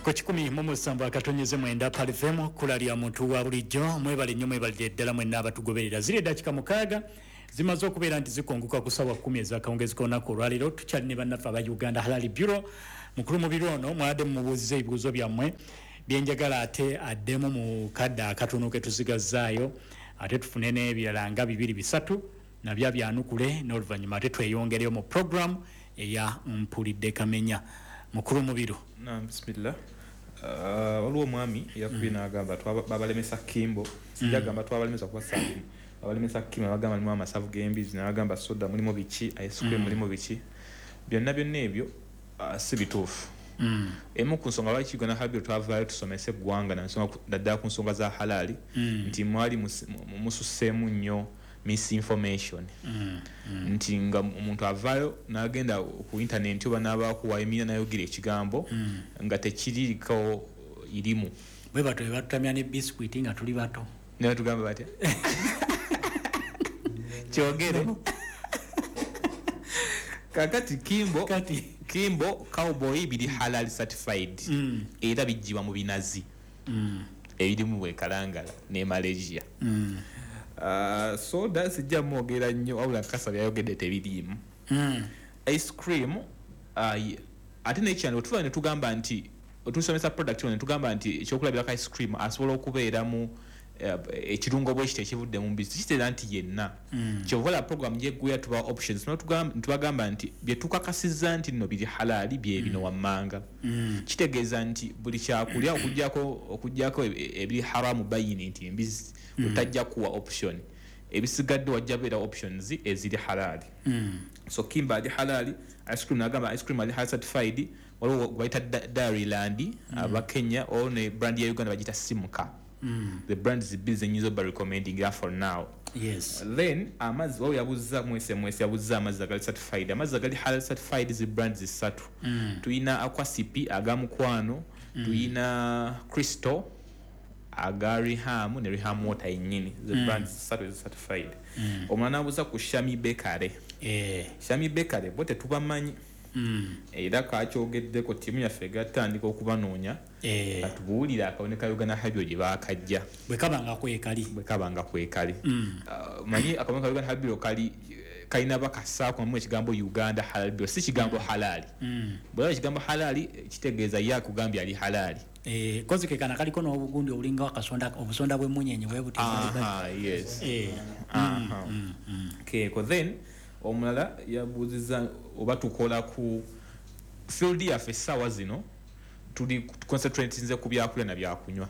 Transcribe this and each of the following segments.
Ku 107.9 Pearl FM, kkula lya muntu wa bulijjo. Mwebale nnyo, mwebalire ddala mwenna abatugoberera. Ziri eddakiika 6 zimaze okubeera nti zikonguka ku ssaawa 10 ez'akawungeezi k'olunaku olwaleero. Tukyali ne bannaffe aba Uganda Halal Bureau. Mukulu Mubiru ono mwadde mumubuuziza ebibuuzo byammwe byenjagala ate addemu mu kadde akatono ke tusigazzaayo, ate tufune n'ebirala nga 2 3 nabyo byanukule, n'oluvannyuma ate tweyongereyo mu program eya Mpulidde Kamenya. Mukulu Mubiru. Naam, bismillah. Waliwo omwami eyakubye n'agamba babalemesa Kimbo. Sijja gamba twabalemesa kuba saabu. Babalemesa Kimbo, bagamba mulimu amasavu g'embizi, n'agamba soda mulimu biki, ice cream mulimu biki. Byonna byonna ebyo si bituufu. Emu ku nsonga lwaki Uganda Halal Bureau twavaayo tusomese eggwanga naddala ku nsonga za halali, nti mwali mususseemu nnyo misinformation. Nti nga omuntu avaayo n'agenda ku internet oba n'abaako wayimira n'ayogera ekigambo nga tekiriiko irimu. Bwe batyo bwe batutamya ne biscuit nga tuli bato. Ne batugamba batya? Kyogere. Kakati Kimbo, Kati. Kimbo Cowboy biri halal certified. Era bijjibwa mu binazi. Ebirimu bwe Kalangala ne Malaysia. Soda sijja mwogera nnyo wabula nkakasa byayogedde tebiriimu. Ice cream, ate n'ekyano tuva ne tugamba nti otusomesa product ne tugamba nti ekyokulabirako ice cream asobola okubeeramu ekirungo bwe kiti ekivudde mu mbizzi, kitegeeza nti yenna. Kyova olaba program gy'eggweera tuba options, tubagamba nti bye tukakasizza nti nno biri halali bye bino wammanga. Kitegeeza nti buli kyakulya okuggyako ebiri haramu bayini nti embizzi, otajja kuwa option. Ebisigadde wajja beera options eziri halali. So Kimba ali halali, ice cream nagamba ice cream ali halal certified, waliwo gwe bayita Dairyland, aba Kenya, o ne brand ya Uganda bagiyita Simca. The brand is busy and user by recommending that for now. Then amazzi wao yabuza mu SMS yabuza amazzi agali certified. Amazzi agali halal certified zi brands zisatu. Tuyina Aquasipi aga mukwano, tuyina Crystal aga Riham ne Riham water yennyini. The brands zisatu is certified. Omwana abuza ku Shami Bakery. Shami Bakery bo tetubamanyi. Era kakyogeddeko ttiimu yaffe egatandika okubanoonya. Atubuulire akabonero ka Uganda Halal Bureau gye baakajja. Bwe kaba nga kwekali. Bwe kaba nga kwekali. Manyi akabonero ka Uganda Halal Bureau kalina bakasaako mu ekigambo Uganda Halal Bureau, si kigambo halali. Bw'olaba ekigambo halali kitegeeza ye akugambye ali halali. Kozi ke kana kaliko n'obugundi obulinga obusonda bw'emmunyenye bwe buti. Aha, yes. Aha. Keeko then omulala yabuuzizza oba tukola ku field yaffe essaawa zino tuli concentratinze ku byakulya na byakunywa.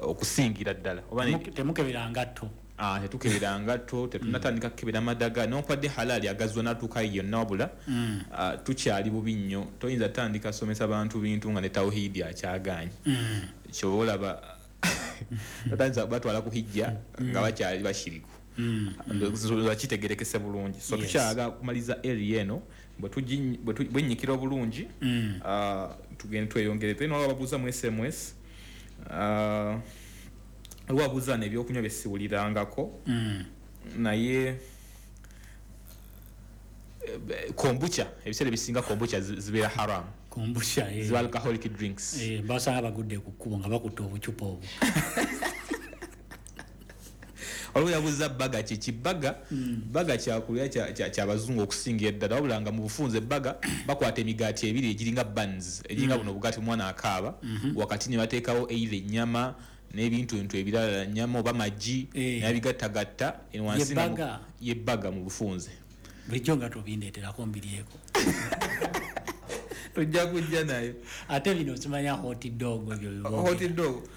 Okusingira ddala. Oba ne- Temukebera ngatto. Tetukebera ngatto, tetunnatandika kukebera madaga, newankubadde halali agazwa n'atuuka yonna wabula, tukyali bubi nnyo. Toyinza tandika somesa bantu bintu nga ne tawhidi akyagaanye. Ky'oba olaba, batandisa batwala ku hijja nga bakyali bashiriku. Ndoza kitegerekese bulungi. So tukyaga kumaliza area eno, bwe nnyikira obulungi, tugende tweyongere. Then waliwo ababuuza mu SMS, waliwo ababuuza n'ebyokunywa bye siwulirangako. Naye, kombucha, ebiseera ebisinga kombucha zibeera haram. Kombucha, Ziba alcoholic drinks. Basanga bagudde ku kkubo nga bakutte obucupa obwo. Waliwo yabuuza baga kiki? Baga, baga kyakulya ky'abazungu okusingira eddala, wabula nga mu bufunze baga bakwata emigaati ebiri egiringa buns, egiringa buno obugaati omwana akaaba, wakati ne bateekawo either ennyama n'ebintu ebintu ebirala, nnyama oba magi, n'abigattagatta, eno wansi Ye nga mu baga? ye baga mu bufunze. Bulijjo nga tobindeeterako mbiryeko. Tojja kujja nayo. Ate bino simanya hot dog ebyo bibooge. Hot dog.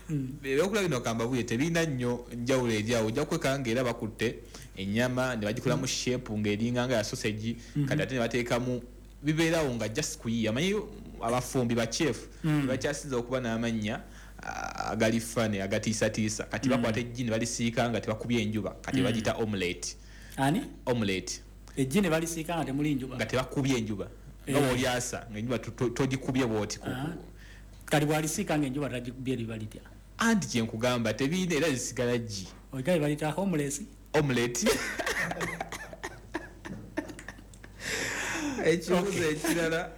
Ebyokulya bino kamba buye tebirina nnyo njawulo eri awo. Ojja kwekanga ng'era bakutte ennyama ne bagikolamu shape ng'eringa nga ya sausage, kati ate ne bateekamu bibeerawo nga just kuyiiya. Amanyi abafumbi ba chef bakyasinze okuba n'amannya agali funny, agatiisatiisa. Kati bakwata eggi ne balisiika nga tebakubye enjuba, kati bagiyita omelette. Ani? Omelette. Eggi ne balisiika nga temuli njuba? Nga tebakubye enjuba. Nga bw'olyasa, ng'enjuba togikubye bw'oti ku- Kati bw'alisiika ng'enjuba tagikubye liba litya? Anti kye nkugamba, tebiina era zisigala ggi. Ogaye balita homeless? Omelette. Ekibuuzo ekirala,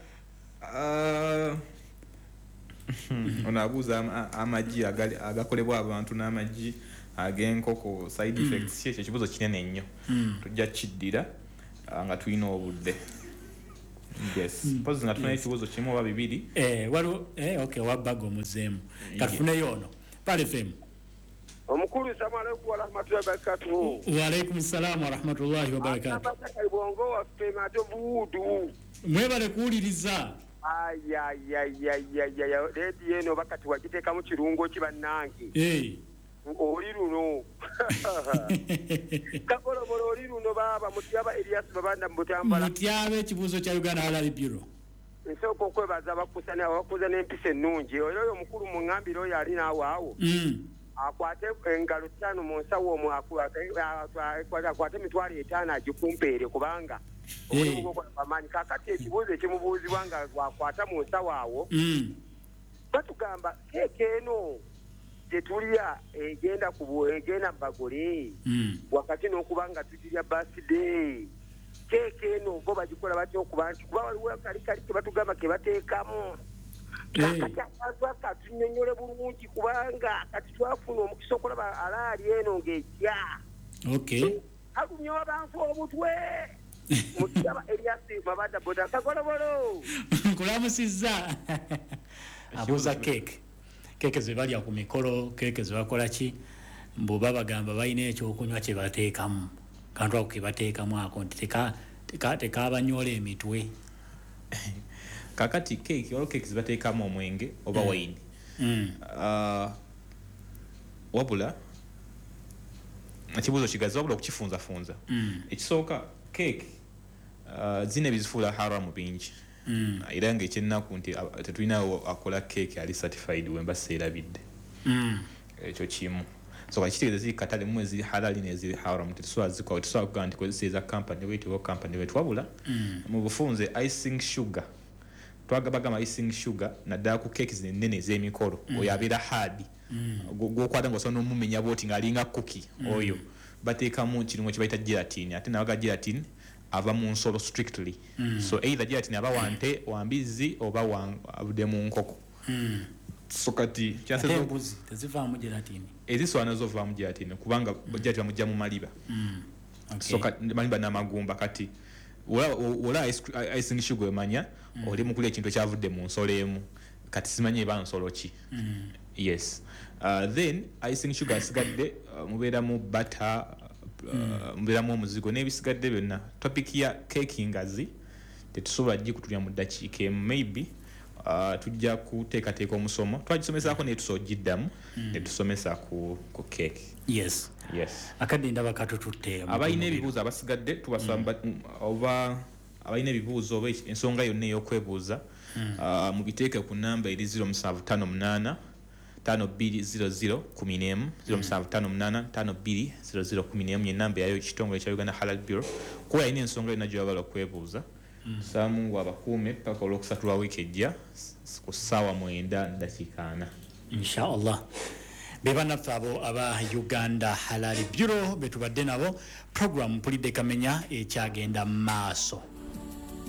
Ono abuuza amagi agakolebwa abantu n'amagi ag'enkoko, side effects. Ki ekyo ekibuuzo kinene nnyo, tujja kiddira nga tulina obudde. Yes, mpozi nga tulina ekibuuzo kimu oba bibiri. Waliwo, okay, wabbaga omuzeemu, katufuneyo ono. Pearl FM. Omukulu, salamu alaikum warahmatullahi wabarakatuhu. Waalaikum salaamu warahmatullahi wabarakatu. Bongo waffe Matovu Wudu. Mwebale kuwuliriza. Ayayayayaya, rediyo eno bakati wagiteekamu kirungo ki bannange? Oli luno kakolobolo, oli luno baaba Mutyaba Erias Babanda Mubutambala. Mutyaba, ekibuuzo kya Uganda Halal Bureau. Nsooka okwebaza abakusana abakuza n'empisa ennungi. Oyo oyo omukulu muŋŋambire oyo ali naawe awo, akwate engalo 5 mu nsawo omwo, akwate 50,000 agikumpeere, kubanga omulimu gwokola gwamaanyi. Kakati ekibuuzo ekimubuuzibwa nga gwakwata mu nsawo awo, batugamba keeke eno gyetulya egenda ku egenda mu bagole wakati n'okuba nga tugirya birthday, keeke eno bo bagikola batya okuba nti, kuba waliwo kali kali ke batugamba ke bateekamu? Kakati abantu akatunyonyole bulungi, kubanga kati twafuna omukisa okulaba alaali eno ng'ejja. Alumya abantu obutwe. Mutyaba Eriasi Mabada Boda Kagolobolo. Nkulamusizza. Abuuza keeke, keeke ze balya ku mikolo, keeke ze bakola ki, mbu babagamba balina ekyokunywa kye bateekamu, kantu ako ke bateekamu ako nti tekabanyoola emitwe. Kakati keeki, waliwo keeki zebateekamu omwenge oba wayini. Wabula ekibuuzo kigazi, wabula okukifunzafunza, ekisooka, keeki zina ebizifuula haramu bingi, era nga ekyennaku nti tetulinawo akola keeki ali certified, wemba seerabidde. Ekyo kimu. So kakitegeeza ziri katale mu eziri halali n'eziri haramu, tetusobola zikola, tetusobola kugamba nti kozesa eza company bweti oba company bweti. Wabula mu bufunze, icing sugar, twagabagamba icing sugar naddala ku keeki zino ennene ez'emikolo, oyo abeera hard, gwokwata nga osobola n'omumenya bwoti ng'alinga cookie, oyo bateekamu kirungo kye bayita gelatin, ate nabaga gelatin ava mu nsolo strictly. So either gelatin aba wante, wa mbizzi, oba avudde mu nkoko. So kati Ate kyasaze embuzi tezivaamu gelatini? Ezisobola nazo ovaamu gelatin, kubanga gelatin bamugja mu maliba. So maliba n'amagumba. Kati olaba icing sugar, emanya oli mu kulya ekintu ekyavudde mu nsolo emu. Kati simanyi eba nsolo ki. Yes, then icing sugar asigadde, mubeeramu butter, mubeeramu omuzigo n'ebisigadde byonna. Topic ya keeki ngazi, tetusobola gikutulya mu ddakiika emu. Maybe tujja kuteekateeka omusomo, twagisomesaako naye tusobola ogiddamu ne tusomesa ku keeki. Yes. Akadde ndaba katututte. Abalina ebibuuzo abasigadde tubasaba, oba abalina ebibuuzo oba ensonga yonna ey'okwebuuza, mubiteeke ku namba eri 0758 520011, 0758 520011, yenamba yayo ekitongole kya Uganda Halal Bureau, kuba alina ensonga yonna gy'oyagala okwebuuza. Saba Mungu abakuume paka olwokusatu lwa wiiki ejja ku ssaawa 9:40. Inshallah. Be bannaffe abo aba Uganda Halal Bureau betubadde nabo. Program Mpulidde Kamenya ekyagenda maaso.